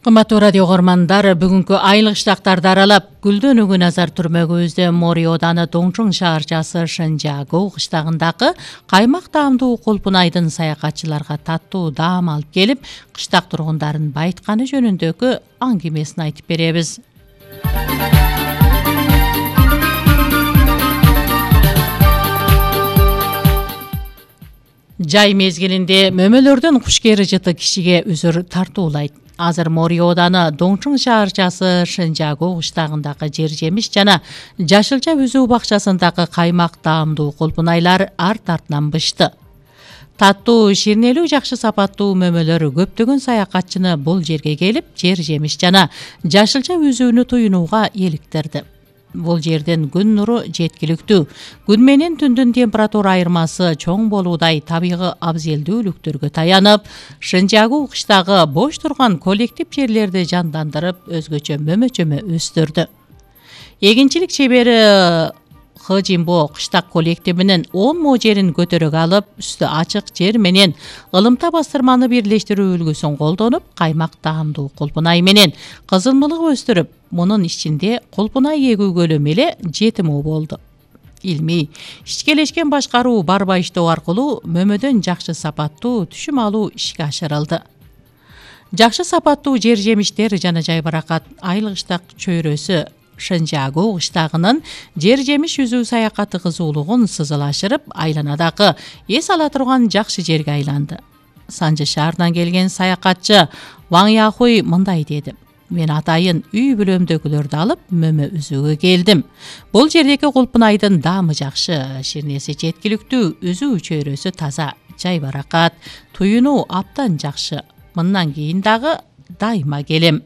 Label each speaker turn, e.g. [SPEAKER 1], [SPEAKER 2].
[SPEAKER 1] Кымбаттуу радио көрмандар, бүгүнкү айлык штаттарды аралап, Гүлдөнүүгө назар түрмөгүбүздө Мори ооданы Доңчуң шаарчасы Шэнжагу кыштагындагы каймак таамдуу Кулпунайдын саякатчыларга таттуу даам алып келип, кыштак тургундарын байытканы жөнүндөгү аңгемесин айтып беребиз. Жай мезгилинде мөмөлөрдүн кушкери жыты кишиге үзүр тартуулайт. Азыр Мори ооданы Доңчуң шаарчасы Шэнжагу кыштагындагы жер жемиш жана жашылча үзүү бакчасындагы каймак таамдуу Кулпунайлар арт артынан бышты. Таттуу, ширнелүү, жакшы сапаттуу мөмөлөр көптөгөн саякатчыны бул жерге келип, жер жемиш жана жашылча үзүүнү туюнууга иликтирди. Бул жерден күн нуру жеткиликтүү, күн менен түндүн температура айырмасы чоң болуудай табигый абзелдүүлүктөргө таянып, Шэнжагу кыштагы бош турган коллектив жерлерди жандандырып, өзгөчө мөмөчөмө өстүрдү. Эгинчилик чебери Хыжимбо кыштак коллективинин 10 мо жерин көтөрөк алып, үстү ачык жер менен ылымта бастырманы бирлештирүү үлгүсүн колдонуп, каймак таамдуу Кулпунай менен кызылмылык өстүрүп, мунун ичинде Кулпунай эгүүгө эле 7 мо болду. Илмий, ичкелешкен башкаруу барба иштөө аркылуу мөмөдөн жакшы сапаттуу түшүм алуу ишке ашырылды. Жакшы сапаттуу жер жемиштер жана жайбаракат айлык штак чөйрөсү Шэнжагу кыштагынын жер жемиш үзүү саякаты кызуулугун сызылашырып, айланадагы эс ала турган жакшы жерге айланды. Санжы шаарынан келген саякатчы Ваң Яхуй мындай деди: "Мен атайын үй бүлөмдөгүлөрдү алып, мөмө үзүүгө келдим. Бул жердеги Кулпунайдын даамы жакшы, ширнеси жеткиликтүү, үзүү чөйрөсү таза, жайбаракат, туюнуу абдан жакшы. Мындан кийин дагы дайыма келем."